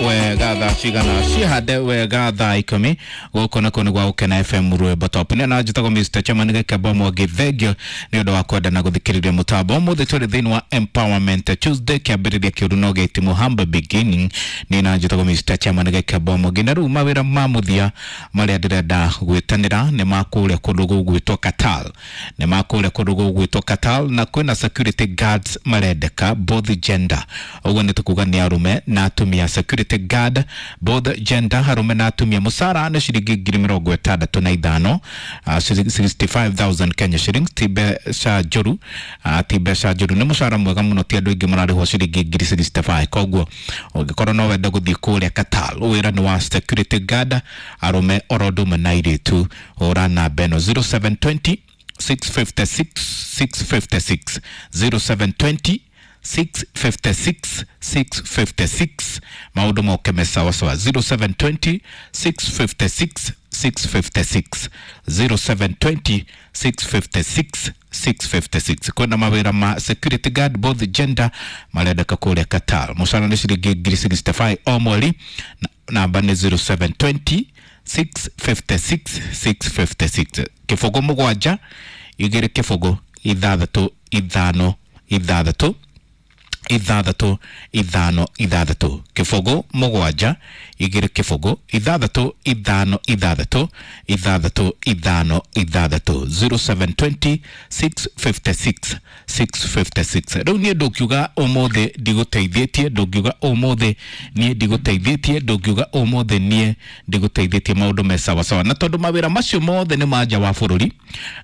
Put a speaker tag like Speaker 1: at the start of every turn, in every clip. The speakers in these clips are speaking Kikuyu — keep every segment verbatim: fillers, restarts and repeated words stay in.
Speaker 1: wega thaa cigana cihande wega thaa ikumi gũkũ nakuo nĩ gwa Gũkena F M Rwĩmbo Top. Nĩ na njĩtagwo Mister Chairman Gĩkembo Mwangi, thengio nĩ ũndũ wa kwenda na gũthikĩrĩria mũtambo. Ũmũthĩ tũrĩ thĩinĩ wa Empowerment Tuesday, kĩambĩrĩria kĩũru no gĩtimũ, humble beginning. Nĩ na njĩtagwo Mister Chairman Gĩkembo Mwangi, na rĩu mawĩra ma mũthia marĩa ndĩrenda gwĩtanĩra nĩ ma kũrĩa kũndũ gũgwĩtwo Qatar, nĩ ma kũrĩa kũndũ gũgwĩtwo Qatar, na kwĩna security guards marendeka both gender, ũguo nĩ tũkuga nĩ arũme na atumia. Security guard both gender, arũme na atumia. Mũcara nĩ ciringi ngiri mĩrongo ĩtandatũ na ithano, uh, sixty five thousand Kenya shillings, ti mbeca njũru, uh, ti mbeca njũru, nĩ mũcara mwega mũno, ti andũ aingĩ mararĩhwo ciringi ngiri sixty five. Koguo ũngĩkorwo no wende gũthiĩ kũrĩa Qatar, wĩra nĩ wa security guard, arũme oro ũndũ ũmwe na airĩtu. Hũra namba ĩno zero seven twenty six fifty six six fifty six, zero seven twenty six fifty six six fifty six. Maũndũ moke me sawa sawa, zero seven twenty six fifty six six fifty six, zero seven twenty six fifty six six fifty six. Kwĩna mawĩra ma security guard both gender marendeka kũrĩa Qatar. Mũcara nĩ ciringi ngiri sixty five o mweri, namba nĩ zero seven twenty six fifty six six fifty six. Kĩbũgũ mũgwanja igĩrĩ kĩbũgũ ithathatũ ithano ithathatũ ithathatũ ithano ithathatũ, kĩbũgũ mũgwanja igĩrĩ kĩbũgũ ithathatũ ithano ithathatũ ithathatũ ithano ithathatũ, zero seven twenty six fifty six six fifty six. Rĩu niĩ ndũngiuga ũmũthĩ ndigũteithĩtie, ndũngiuga ũmũthĩ niĩ ndigũteithĩtie, ndũngiuga ũmũthĩ niĩ ndigũteithĩtie, maũndũ me sawa sawa. Na tondũ mawĩra macio mothe nĩ ma nja wa bũrũri,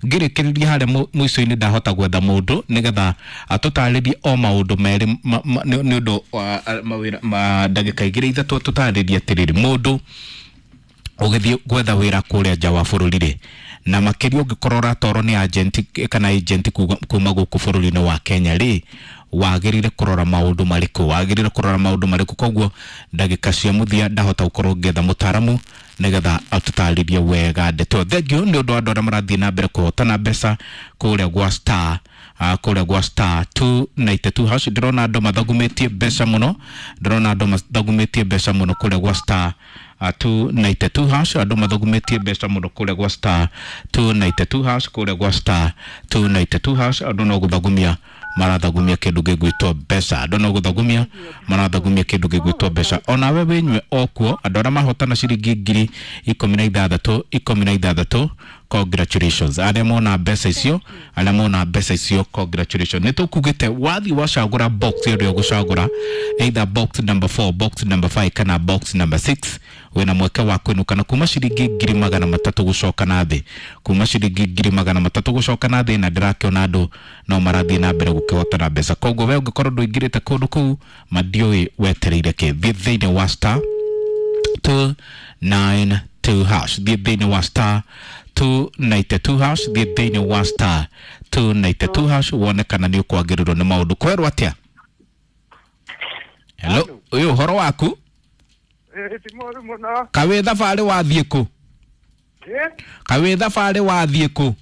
Speaker 1: ngĩrĩkĩrĩria harĩa mũico-inĩ ndahota gwetha mũndũ nĩgetha atũtarĩrie o maũndũ merĩ nĩ ũndũ wa mawĩra ma ndagĩka igĩrĩ ithatũ, tũtarĩrie atĩrĩrĩ, mũndũ ũgĩthiĩ gwetha wĩra kũrĩa nja wa bũrũri rĩ, na makĩria ũngĩkorwo ũratwarwo nĩ agent kana agent kuma gũkũ bũrũri-inĩ wa Kenya rĩ, wagĩrĩire kũrora maũndũ marĩkũ, wagĩrĩire kũrora maũndũ marĩkũ. Koguo ndagĩka cia mũthia ndahota gũkorwo ngĩetha mũtaaramu nĩgetha atũtarĩrie wega ndeto. Thengiũ nĩ ũndũ wa andũ arĩa marathiĩ na mbere kũhotana mbeca kũrĩa gwa Star, uh, kũrĩa gwa star two ninety two hash. Ndĩrona andũ mathagumĩtie mbeca mũno, ndĩrona andũ mathagumĩtie mbeca mũno kũrĩa gwa star uh, two ninety two hash, andũ mathagumĩtie mbeca mũno kũrĩa gwa star two ninety two hash, kũrĩa gwa star two ninety two hash. Andũ no gũthagumia marathagumia kĩndũ gĩgwĩtwo mbeca, andũ no gũthagumia marathagumia kĩndũ gĩgwĩtwo mbeca. Onawe wĩnyue okuo, andũ arĩa mahotana ciringi ngiri ikũmi na ithathatũ ikũmi na ithathatũ, congratulations. Arĩa mona mbeca icio, arĩa mona mbeca icio, congratulations. Nĩ tũkugĩte wathiĩ wacagũra box ĩrĩa ũgũcagũra, either box number four, box number five kana box number six, wĩna mweke wa kũinũka na kuma ciringi ngiri magana matatũ gũcoka na thĩ, kuma ciringi ngiri magana matatũ gũcoka na thĩ. Na ndĩrakĩona andũ no marathiĩ na mbere gũkĩhotana mbeca. Koguo we ũngĩkorwo ndũingĩrĩte kũndũ kũu, mandiũĩ wetereire kĩ. Thiĩ thĩinĩ wa star two nine two hash, thiĩ thĩinĩ wa star two ninety two hash, thiĩ thĩinĩ wa star two ninety two hash wone kana nĩ ũkwagĩrĩrwo nĩ maũndũ. Kwerwo atĩa? Hello, ũyũ ũhoro waku? Kawĩ thabarĩ wathiĩ kũ? Kawĩ thabarĩ wathiĩ kũ?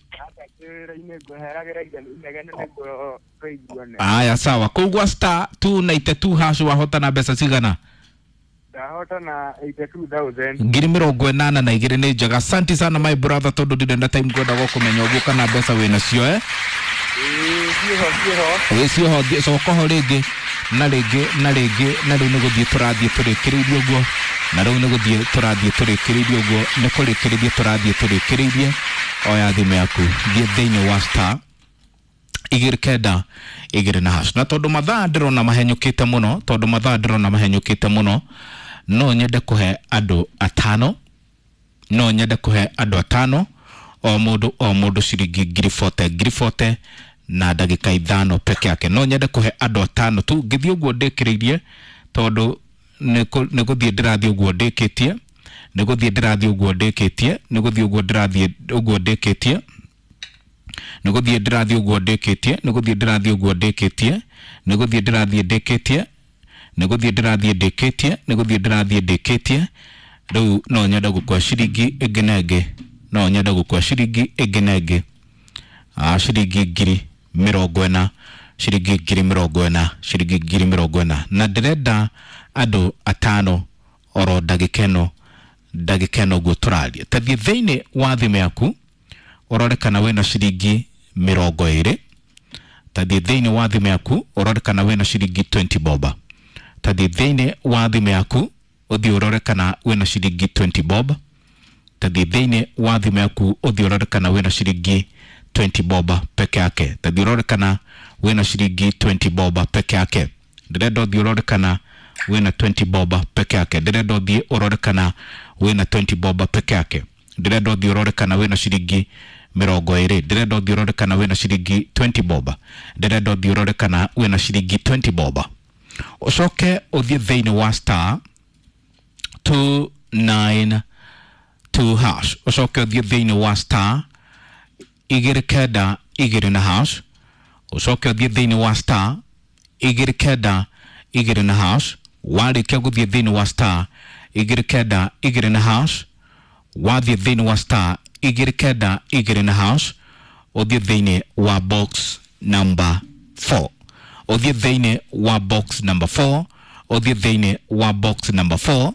Speaker 1: Aya, sawa. Kũu gwa star two ninety two hash wahotana mbeca cigana?
Speaker 2: Ndahotana eighty two thousand.
Speaker 1: Ngiri mĩrongo ĩnana na igĩrĩ. Nĩ njega. Asante sana my brother, tondũ ndirĩ na time ngwenda gũkũmenya ũguo kana mbeca wĩnacio eh?
Speaker 2: Ĩĩ, ciĩho ciĩho.
Speaker 1: Ĩĩ, ciĩho, coka ho rĩngĩ na rĩngĩ na rĩngĩ, na rĩu nĩ gũthiĩ tũrathiĩ tũrĩkĩrĩirie ũguo, na rĩu nĩ gũthiĩ tũrathiĩ tũrĩkĩrĩirie ũguo, nĩ kũrĩkĩrĩria tũrathiĩ tũrĩkĩrĩirie. Oya thimũ yaku, thiĩ thĩinĩ wa star igĩrĩ kenda igĩrĩ na hash. Na tondũ mathaa ndĩrona mahenyũkĩte mũno, tondũ mathaa ndĩrona mahenyũkĩte mũno, no nyende kũhe andũ atano, no nyende kũhe andũ atano, o mũndũ o mũndũ ciringi ngiri bote ngiri bote na ndagĩka ithano peke yake. No nyende kũhe andũ atano tu, ngĩthiĩ ũguo ndĩkĩrĩirie, tondũ nĩ gũthiĩ ndĩrathiĩ ũguo ndĩkĩtie, nĩ gũthiĩ ndĩrathiĩ ũguo ndĩkĩtie, nĩ gũthiĩ ũguo ndĩrathiĩ ũguo ndĩkĩtie, nĩ gũthiĩ ndĩrathiĩ ũguo ndĩkĩtie, nĩ gũthiĩ ndĩrathiĩ ũguo ndĩkĩtie, nĩ gũthiĩ ndĩrathiĩ ndĩkĩtie, nĩ gũthiĩ ndĩrathiĩ ndĩkĩtie, nĩ gũthiĩ ndĩrathiĩ ndĩkĩtie. Rĩu no nyende gũkua ciringi ĩngĩ na ĩngĩ, no nyende gũkua ciringi ĩngĩ na ĩngĩ, ah, ciringi ngiri mĩrongo ĩna, ciringi ngiri mĩrongo ĩna, ciringi ngiri mĩrongo ĩna. Na ndĩrenda andũ atano oro ndagĩka ĩno ndagĩka ĩno ũguo tũraria. Tathiĩ thĩinĩ wa thimũ yaku ũrore kana wĩna ciringi mĩrongo ĩrĩ. Tathiĩ thĩinĩ wa thimũ yaku ũrore kana wĩna ciringi twenty bob. Tathiĩ thĩinĩ wa thimũ yaku ũthiĩ ũrore kana wĩna ciringi twenty bob. Tathiĩ thĩinĩ wa thimũ yaku ũthiĩ ũrore kana wĩna ciringi twenty bob peke yake. Tathiĩ ũrore kana wĩna ciringi twenty bob peke yake. Ndĩrenda ũthiĩ ũrore kana wĩna twenty bob peke yake. Ndĩrenda ũthiĩ ũrore kana wĩna twenty bob peke yake. Ndĩrenda ũthiĩ ũrore kana wĩna ciringi mĩrongo ĩrĩ. Ndĩrenda ũthiĩ ũrore kana wĩna ciringi twenty bob. Ndĩrenda ũthiĩ ũrore kana wĩna ciringi twenty bob. Ũcoke ũthiĩ thĩinĩ wa star two nine two hash. Ũcoke ũthiĩ thĩinĩ wa star igĩrĩ kenda igĩrĩ na hash. Ũcoke ũthiĩ thĩinĩ wa star igĩrĩ kenda igĩrĩ na hash. Warĩkia gũthiĩ thĩinĩ wa star igĩrĩ kenda igĩrĩ na hash, wathiĩ thĩinĩ wa star igĩrĩ kenda igĩrĩ na hash, ũthiĩ thĩinĩ wa box number four. Ũthiĩ thĩinĩ wa box number four, ũthiĩ thĩinĩ wa box number four,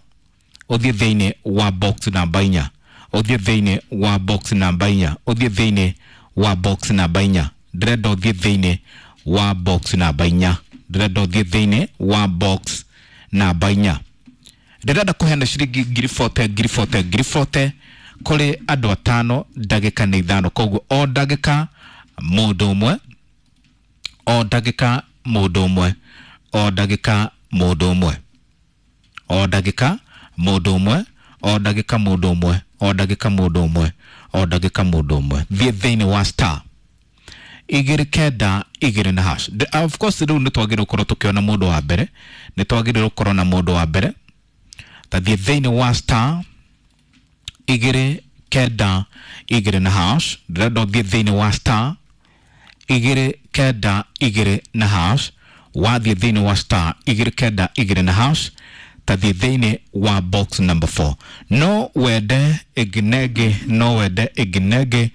Speaker 1: ũthiĩ thĩinĩ wa box namba inya, ũthiĩ thĩinĩ wa box namba inya, ũthiĩ thĩinĩ wa box namba inya. Ndĩrenda ũthiĩ thĩinĩ wa box namba inya. Ndĩrenda ũthiĩ thĩinĩ wa box namba inya. Ndĩrenda kũheana ciringi ngiri forty ngiri forty ngiri forty kũrĩ andũ atano ndagĩka nĩ ithano. Koguo o ndagĩka mũndũ ũmwe, o ndagĩka mũndũ ũmwe, o ndagĩka mũndũ ũmwe, o ndagĩka mũndũ ũmwe, o ndagĩka mũndũ ũmwe, o ndagĩka mũndũ ũmwe, o ndagĩka mũndũ ũmwe. Thiĩ thĩinĩ wa star igĩrĩ kenda igĩrĩ na hash. Of course rĩu nĩ twagĩrĩirwo gũkorwo tũkĩona mũndũ wa mbere, nĩ twagĩrĩirwo gũkorwo na mũndũ wa mbere. Tathiĩ thĩinĩ wa star igĩrĩ kenda igĩrĩ na hash. Ndĩrenda ũthiĩ thĩinĩ wa star igĩrĩ kenda igĩrĩ na hash. Wathiĩ thĩinĩ wa star igĩrĩ kenda igĩrĩ na hash, tathiĩ thĩinĩ wa box number four. No wende ĩngĩ na ĩngĩ, no wende ĩngĩ na ĩngĩ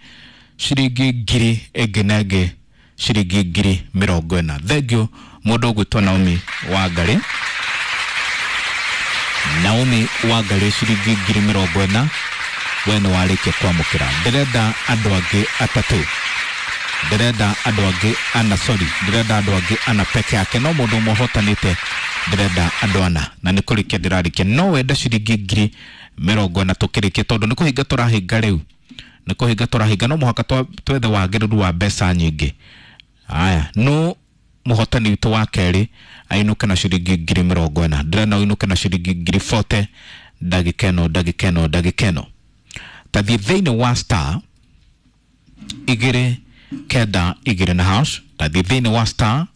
Speaker 1: ciringi ngiri ĩngĩ na ĩngĩ ciringi ngiri mĩrongo ĩna. Thengiũ mũndũ ũgwĩtwo Naomi Wangari. Naomi Wangari ciringi ngiri mĩrongo ĩna, we nĩ warĩkia kwamũkĩra. Ndĩrenda andũ angĩ atatũ, ndĩrenda andũ angĩ ana, sorry, ndĩrenda andũ angĩ ana peke yake, no mũndũ ũmwe ũhotanĩte ndĩrenda andũ ana, na nĩ kũrĩkia ndĩrarĩkia. No wende ciringi ngiri mĩrongo ĩna tũkĩrĩkia, tondũ nĩ kũhinga tũrahinga rĩu, nĩ kũhinga tũrahinga, no mũhaka twethe wagĩrĩru wa mbeca nyingĩ. Aya, no mũhotani witũ wa kerĩ ainũke na ciringi ngiri mĩrongo ĩna. Ndĩrenda ũinũke na ciringi ngiri forty ndagĩka ĩno ndagĩka ĩno ndagĩka ĩno. Tathiĩ thĩinĩ wa star igĩrĩ kenda igĩrĩ na hash. Tathiĩ thĩinĩ wa star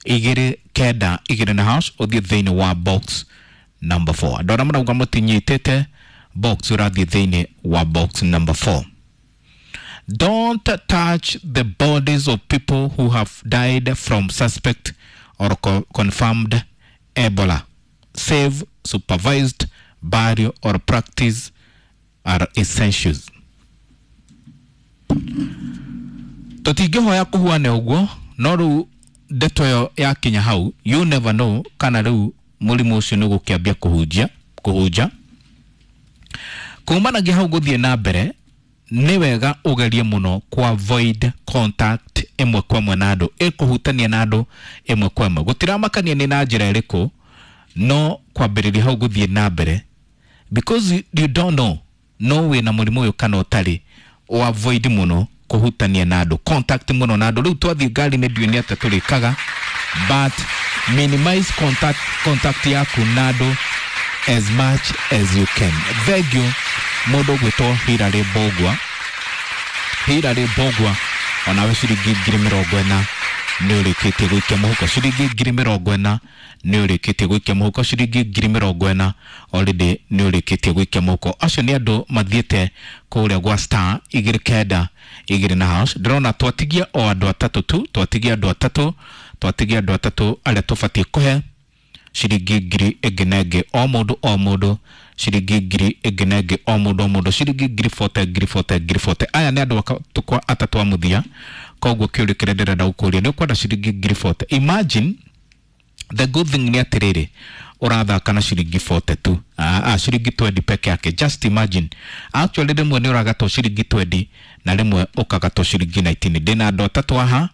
Speaker 1: igĩrĩ kenda igĩrĩ na hash, ũthiĩ thĩinĩ wa box number four. Andũ arĩa marauga mũtinyitĩte box, ũrathiĩ thĩinĩ wa box number four. Don't touch the bodies of people who have died from suspect or co confirmed Ebola. Safe, supervised burial or practice are essentials. Tũtingĩhoya kũhuane ũguo, no rĩu ndeto ĩyo yakinya hau, you never know kana rĩu mũrimũ ũcio nĩ ũgũkĩambia kũhunjia kũhunja. Kumanagia hau gũthiĩ na mbere, nĩ wega ũgerie mũno ku avoid contact ĩmwe kwa ĩmwe na andũ, ĩkũhutania na andũ ĩmwe kwa ĩmwe. Gũtiramakania nĩ na njĩra ĩrĩkũ, no kwambĩrĩria hau gũthiĩ na mbere, because you, you don't know no wĩna mũrimũ ũyũ kana ũtarĩ, o avoid mũno kũhutania na andũ, contact mũno na andũ. Rĩu twathiĩ ngari-inĩ ndiũĩ nĩ atĩa tũrĩkaga, but minimize contact, contact yaku na andũ as much as you can. Thengiũ mũndũ ũgwĩtwo Hilary Mbũgua. Hilary Mbũgua onawe ciringi ngiri mĩrongo ĩna nĩ ũrĩkĩtie gũikia mũhuko. Ciringi ngiri mĩrongo ĩna nĩ ũrĩkĩtie gũikia mũhuko. Ciringi ngiri mĩrongo ĩna already nĩ ũrĩkĩtie gũikia mũhuko. Acio nĩ andũ mathiĩte kũrĩa gwa star igĩrĩ kenda igĩrĩ na hash. Ndĩrona twatigia o andũ atatũ tu, twatigia andũ atatũ, twatigia andũ atatũ arĩa tũbatiĩ kũhe ciringi ngiri ĩngĩ na ĩngĩ o mũndũ o mũndũ, ciringi ngiri ĩngĩ na ĩngĩ o mũndũ o mũndũ, ciringi ngiri forty ngiri forty ngiri forty. Aya nĩ andũ atatũ a mũthia. Koguo kĩũria kĩrĩa ndĩrenda gũkũria nĩ ũkwenda ciringi ngiri forty. Imagine the good thing nĩ atĩrĩrĩ, Ũrathaka na ciringi forty tu, ah, ah, ciringi twenty peke yake. Just imagine, actually rĩmwe nĩ ũragatwo ciringi twenty na rĩmwe ũkagatwo ciringi nineteen. Ndĩna andũ atatũ aha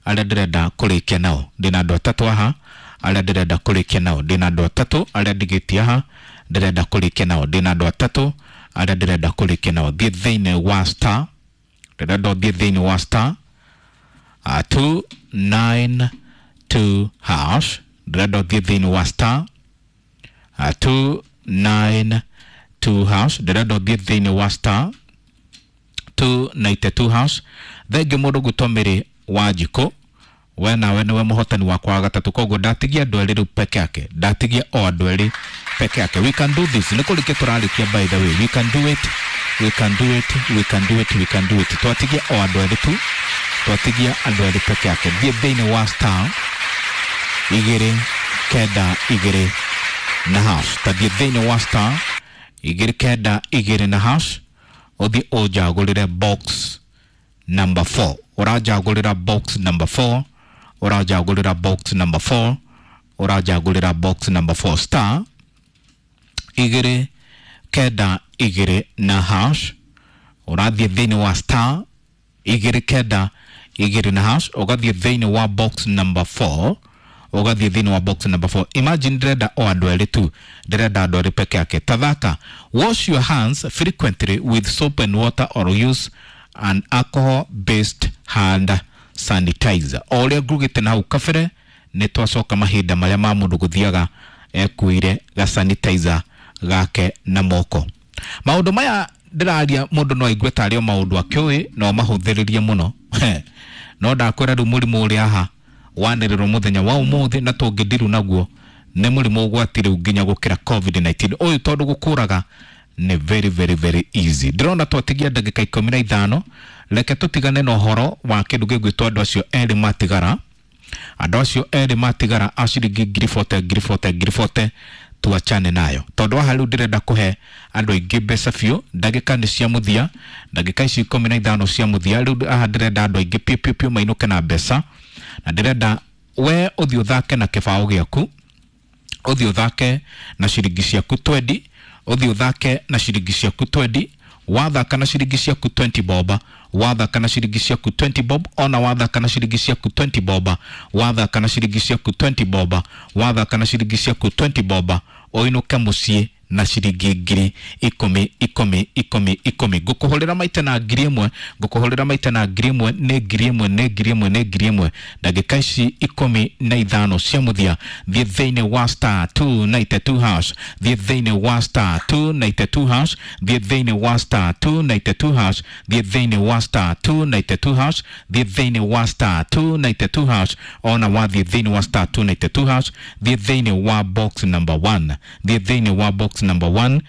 Speaker 1: arĩa ndĩrenda kũrĩkia nao, ndĩna andũ atatũ aha arĩa ndĩrenda kũrĩkia nao, ndĩna andũ atatũ arĩa ndigĩtie aha ndĩrenda kũrĩkia nao, ndĩna andũ atatũ arĩa ndĩrenda kũrĩkia nao. Thiĩ thĩinĩ wa star, ndĩrenda ũthiĩ thĩinĩ wa star uh, two nine two hash, ndĩrenda ũthiĩ thĩinĩ wa star uh, two nine two hash, ndĩrenda ũthiĩ thĩinĩ wa star two ninety two hash. Thengiũ mũndũ gwĩtwo Mary Wanjikũ, we nawe nĩwe mũhotani wakwa wa gatatũ, koguo ndatigia andũ erĩ rĩu peke yake, ndatigia o andũ erĩ peke yake. We can do this, nĩ kũrĩkia tũrarĩkia. By the way, we can do it, we can do it, we can do it, we can do it. Twatigia o andũ erĩ tu, twatigia andũ erĩ peke yake. Thiĩ thĩinĩ wa star igĩrĩ kenda igĩrĩ na hash, tathiĩ thĩinĩ wa star igĩrĩ kenda igĩrĩ na hash, ũthiĩ ũnjagũrĩre box number four. Ũranjagũrĩra box number four, ũranjagũrĩra box number four, ũranjagũrĩra box number four. Star igĩrĩ kenda igĩrĩ na hash, ũrathiĩ thĩinĩ wa star igĩrĩ kenda igĩrĩ na hash, ũgathiĩ thĩinĩ wa box number four, ũgathiĩ thĩinĩ wa box number four. Imagine, ndĩrenda o andũ erĩ tu, ndĩrenda andũ erĩ peke yake. Tathaka. Wash your hands frequently with soap and water or use an alcohol based hand sanitizer. O ũrĩa ngugĩte na hau kabere, nĩ twacoka mahinda marĩa ma mũndũ gũthiaga ekuire ga sanitizer gake na moko. Maũndũ maya ndĩraria, mũndũ no aigue tarĩ o maũndũ akĩũĩ no mahũthĩrĩrie mũno, no ndakwĩra rĩu mũrimũ ũrĩa haha wanĩrĩrwo mũthenya wa ũmũthĩ na tũngĩndiru naguo nĩ mũrimũ ũgwati rĩu nginya gũkĩra covid nineteen ũyũ, tondũ gũkũraga nĩ very very very easy. Ndĩrona twatigia ndagĩka ikũmi na ithano, reke tũtigane na ũhoro wa kĩndũ gĩgwĩtwo andũ acio erĩ matigara, andũ acio erĩ matigara a ciringi ngiri bote, ngiri bote, ngiri bote, tuachane nayo tondũ haha rĩu ndĩrenda kũhe andũ aingĩ mbeca biũ. Ndagĩka nĩ cia mũthia, ndagĩka ici ikũmi na ithano cia mũthia. Rĩu haha ndĩrenda andũ aingĩ piũ piũ piũ mainũke na mbeca, na ndĩrenda we ũthiĩ ũthake na kĩbaũ gĩaku, ũthiĩ ũthake na ciringi ciaku twenty, ũthiĩ ũthake na ciringi ciaku twenty. Wathaka na ciringi ciaku twenty bob, wathaka na ciringi ciaku twenty bob, ona wathaka na ciringi ciaku twenty bob, wathaka na ciringi ciaku twenty bob, wathaka na ciringi ciaku twenty bob, ũinũke mũciĩ na ciringi ngiri ikũmi ikũmi ikũmi ikũmi. Ngũkũhũrĩra maita na ngiri ĩmwe, ngũkũhũrĩra maita na ngiri ĩmwe, nĩ ngiri ĩmwe, nĩ ngiri ĩmwe, nĩ ngiri ĩmwe. Ndagĩka ici ikũmi na ithano cia mũthia, thiĩ thĩinĩ wa star two ninety two hash, thiĩ thĩinĩ wa star two ninety two hash, thiĩ thĩinĩ wa star two ninety two hash, thiĩ thĩinĩ wa star two ninety two hash, thiĩ thĩinĩ wa star two ninety two hash. Ona wathiĩ thĩinĩ wa star two ninety two hash, thiĩ thĩinĩ wa box number one, thiĩ thĩinĩ wa box number one,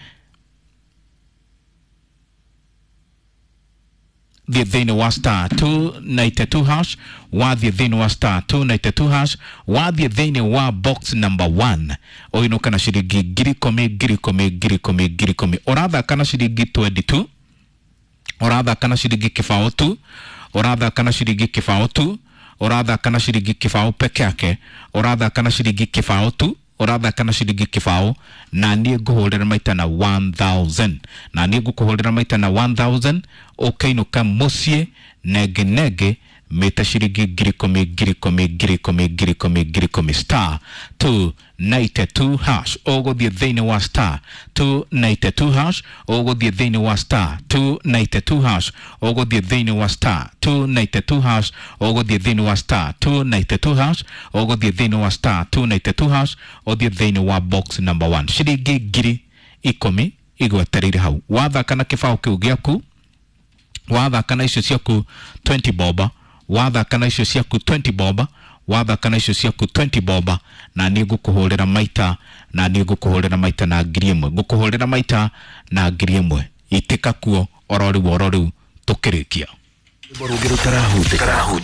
Speaker 1: thiĩ thĩinĩ wa star two ninety two hash, wathiĩ thĩinĩ wa star two ninety two hash, wathiĩ thĩinĩ wa box number one, ũinũka na ciringi ngiri ikũmi ngiri ikũmi ngiri ikũmi ngiri ikũmi. Ũrathaka na ciringi twenty tu, ũrathaka na ciringi kĩbaũ tu, ũrathaka na ciringi kĩbaũ tu, ũrathaka na ciringi kĩbaũ peke yake, ũrathaka na ciringi kĩbaũ tu, ũrathaka na ciringi kĩbaũ, na niĩ ngũhũrĩra maita na one thousand, na niĩ ngũkũhũrĩra maita na one thousand, ũkainũka mũciĩ nenge nenge mĩta ciringi ngiri ikũmi ngiri ikũmi ngiri ikũmi ngiri ikũmi ngiri ikũmi. Star two ninety two hash, ũgũthiĩ thĩinĩ wa star two ninety two hash, ũgũthiĩ thĩinĩ wa star two ninety two hash, ũgũthiĩ thĩinĩ wa star two ninety two hash, ũgũthiĩ thĩinĩ wa star two ninety two hash, ũgũthiĩ thĩinĩ wa star two ninety two hash, ũthiĩ thĩinĩ wa box number one. Ciringi ngiri ikũmi igwetereire hau. Wathaka na kĩbaũ kĩu gĩaku, wathaka na icio ciaku twenty bob, wathaka na icio ciaku twenty bob, wathaka na icio ciaku twenty bob, na niĩ ngũkũhũrĩra maita, na niĩ ngũkũhũrĩra maita na ngiri ĩmwe, ngũkũhũrĩra maita na ngiri ĩmwe. Itĩka kuo oro rĩu oro rĩu tũkĩrĩkia.
Speaker 3: Rwĩmbo rũngĩ rũtarahutĩka.